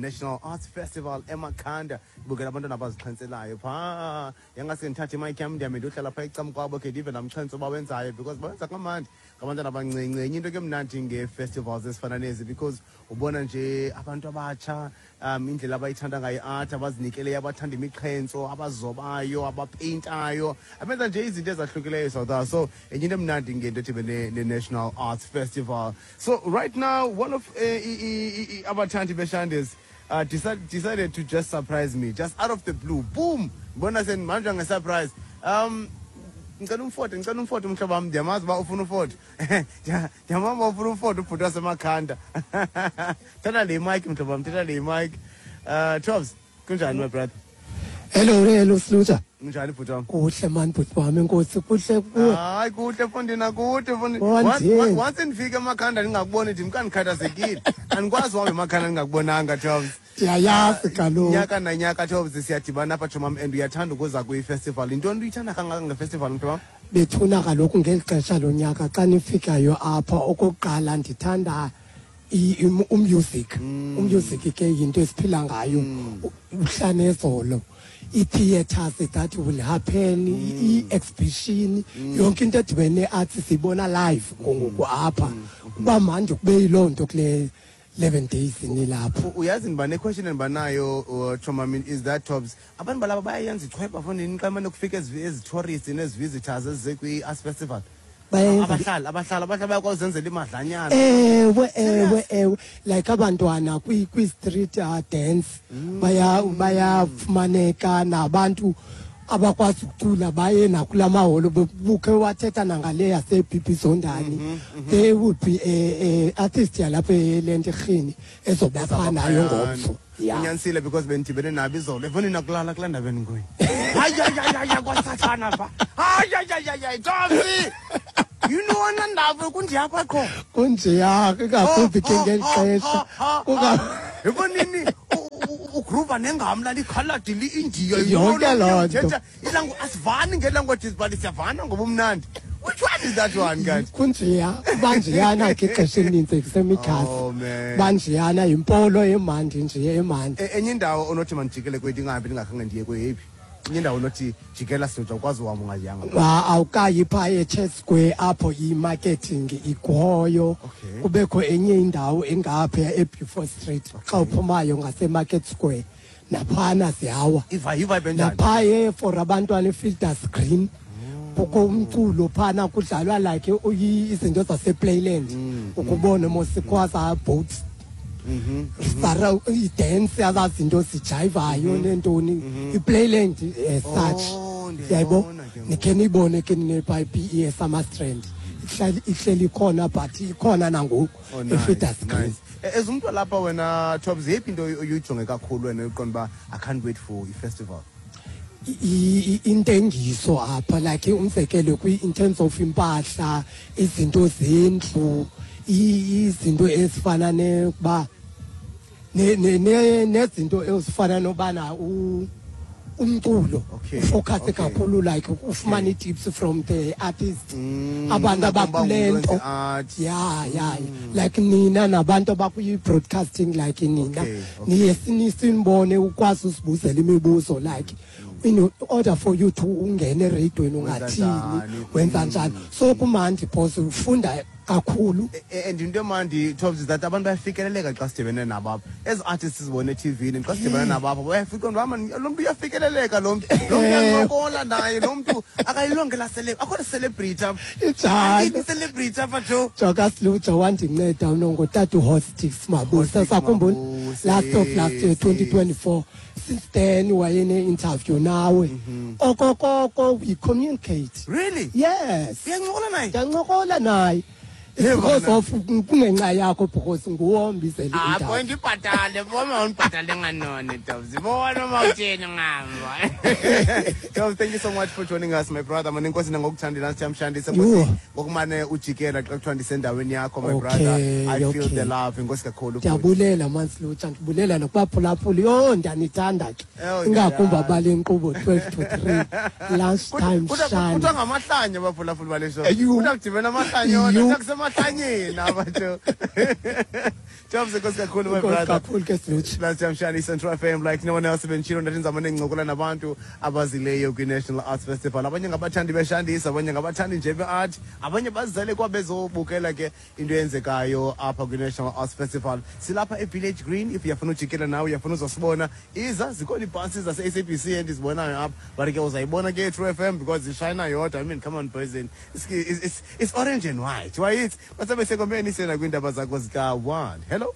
National Arts Festival eMakhanda. Bukela abantwana abazixhentselayo phaa. Yangase ndithathe imayikhi yam ndihambe ndiyohlala phaa ecam kwabo khe ndive namxhentso bawenzayo because bawenza kamandi ngabantwana abancinci. Enye into ke mnandi ngee-festivals ezifana nezi because ubona nje abantu abatsha indlela abayithanda ngayo i-art, abazinikeleyo, abathanda imixhentso, abazobayo, abapeyintayo, abenza nje izinto ezahlukileyo South. So enye into emnandi ngento edibene ne-National Arts Festival. So right now one of abathandi beShandis decided to just surprise me just out of the blue. Boom! Bona senimanje nge-surprise. Ngicela umfoto, ngicela umfoto umhlobo wami, ndiyamazi uba ufuna ufoto. Ndiyamazi uba ufuna ufoto ubhuti waseMakhanda. Thatha le mic mhlobo wami, thatha le mic. Tobs, kunjani my brother? Hello, hello Sluja. Kunjani bhuti wami? Kuhle man bhuti wami, enkosi, kuhle kuwe. Hayi kuhle mfondini, akude mfondini. Wanjeni? Once ndifike eMakhanda ndingakuboni ndimkandikhathazekile. Andikwazi uhamba eMakhanda ndingakubonanga Tobs. Ndiyayazi kaloku. Nyaka nanyaka Tobs siyadibana apha tshomam and uyathanda ukuza kwi-festival. Yintoni uyithanda kangaka ngefestival mhlobo wam? Bethuna kaloku ngeli xesha lonyaka xa nifikayo apha, okokuqala ndithanda umusic. Umusic ke yinto esiphila ngayo. Uhla nezolo. I-theatres that will happen, i-exhibition, yonke into edibene ne-arts siyibona live ngoku apha. Kuba mandi kube yiloo nto kule 11 days nilapho. Uyazi ndiba ne-question endibanayo Chomami, is that Tobs, abantu balapha bayayenza ichweba fondini xa mane kufika ezi tourists nezi visitors ezize kwi-arts festival? Bayenza. Abahlali bayakwazi uzenzela imadlanyana. Ewe, ewe, ewe, like abantwana kwi-street dance bayafumaneka, nabantu abakwazi ukucula baye nakula maholo. Bukhe wathetha nangale yase-BB Zondani, there would be a artist yalapha eLentirhini ezobapha nayo ngomso, ya. Unyanisile because bendidibene nabo izolo efondini akulala kulaa ndaba endikuyo. Hayi, hayi, hayi, hayi, kwasathana pha. Hayi, hayi, hayi, hayi, hayi, Tobs, yintoni ndaba kunjeyapha qho? Kunjeya, ingakumbi ke ngeli xesha. Efondini ugroova nengamla likhaladi li-India. Yonke loo nto. Ilangu asivani ngelanguages but siyavana ngoba umnandi. Which one is that one guys? Kunjeya, banjeyana ke ixesha elininzi kusemikhasi. Oh man. Banjeyana yimpolo emandi nje emandi. Enye indawo onothi mandijikele kwethu ingahambi ndingakhange ndiye kweyephi? Enye indawo onothi jikela sidoda ukwazi uhamba ungayanga. Awukayi phaa eChurch Square apho i-marketing ikhoyo. Kubekho enye indawo engaphaya eBeaufort Street xa uphumayo ngaseMarket Square, naphana ziyawa. Iva ivibe enjani? Naphaya for abantwana eFielders Green kukho umculo phana, kudlalwa like izinto zasePlayland, ukubone mosikhwaza boats sara i-dance, azaa zinto zijayivayo neentoni, iPlayland as such. Oh, yayibona ndiyayibona ke ngoku. Nikhe niyibone ke nine-pipe eSummerstrand ihleli ikhona but ikhona nangoku. Oh, nice, eFielders Green. Nice. As umntu walapha wena Tobs, yeyiphi into oyijonge kakhulu wena uqonda uba I can't wait for i-festival? Intengiso apha, like umzekelo in terms of impahla, izinto zendlu, izinto ezifana nekuba nezinto ezifana nobana umculo ufocus kakhulu, like ufumana ii-tips from the artist, abantu abakule nto. Art. Ya, like nina nabantu abakwi-broadcasting, like nina niye sinibone ukwazi usibuzela imibuzo, like in order for you to ungene ereyidweni ungathini, njani? Wenza njani. So kumandi because ufunda kakhulu. And into emandi Tobs is that abantu bayafikeleleka xa sidibene nabo apha. Ezi artists sizibone eTV-ni xa sidibene nabo apha bayafika uba man lo mntu uyafikeleleka, lo mntu uyancokola naye, lo mntu akayilonge la akho celebrity apha. Injalo. Ayikho celebrity apha jo. Joka Sluja wandinceda unongotata uHostix Mabuse. Hostix Sakhumbula Mabuse, last of last year, 2024. Since then wayene-interview nawe okokoko, we communicate. Really? Yes. Uyancokola naye? Ndiyancokola naye. It's Hey, because bana. of kungenxa yakho because nguwe ombizela Ah, i-interview. boy, ndibhatale boma undibhatale nganoni Tobs. Bona uma utheni ngamba. Tobs, thank you so much for joining us, my brother. Mane inkosi nangokuthandela siyamshandisa Yho. nkosi ngokumane ujikela xa kuthiwa ndisendaweni yakho, my brother. I feel the love. Inkosi kakhulu, bhuti. Ndiyabulela mansilutsha, ndibulela nokubaphulaphula. Yho, ndiyanithanda ke. Oh, ingakumbi ndiyayazi. abale nkqubo 12 to 3 lunch time. Kuthiwa Shana. kuthiwa ngamahlanya abaphulaphuli bale show. Eyu. Kuthiwa kudibene amahlanya wona, Eyu. kuthiwa kusemahlanyeni abantu. Jobs, enkosi kakhulu, my Enkosi brother. Kakhulu ke, Silutsha. Last time Shani Central FM like no one else bentshilo ndathi ndizama nencokola nabantu abazileyo kwi-National Arts Festival. Abanye ngabathandi beshandisa, abanye ngabathandi nje be-art, abanye bazele kwabezobukela ke into eyenzekayo apha kwi-National Arts Festival. Silapha e-Village Green. If uyafuna ujikela nawe, uyafuna uzosibona, iza. Zikhona iibhasi zase-SABC endizibonayo apha, but ke uzayibona ke True FM because ishayina yodwa. I mean, come on, boys, it's orange and white. Wayithi basabe sekomeni sena kwiindaba zakho zika-1. Hello.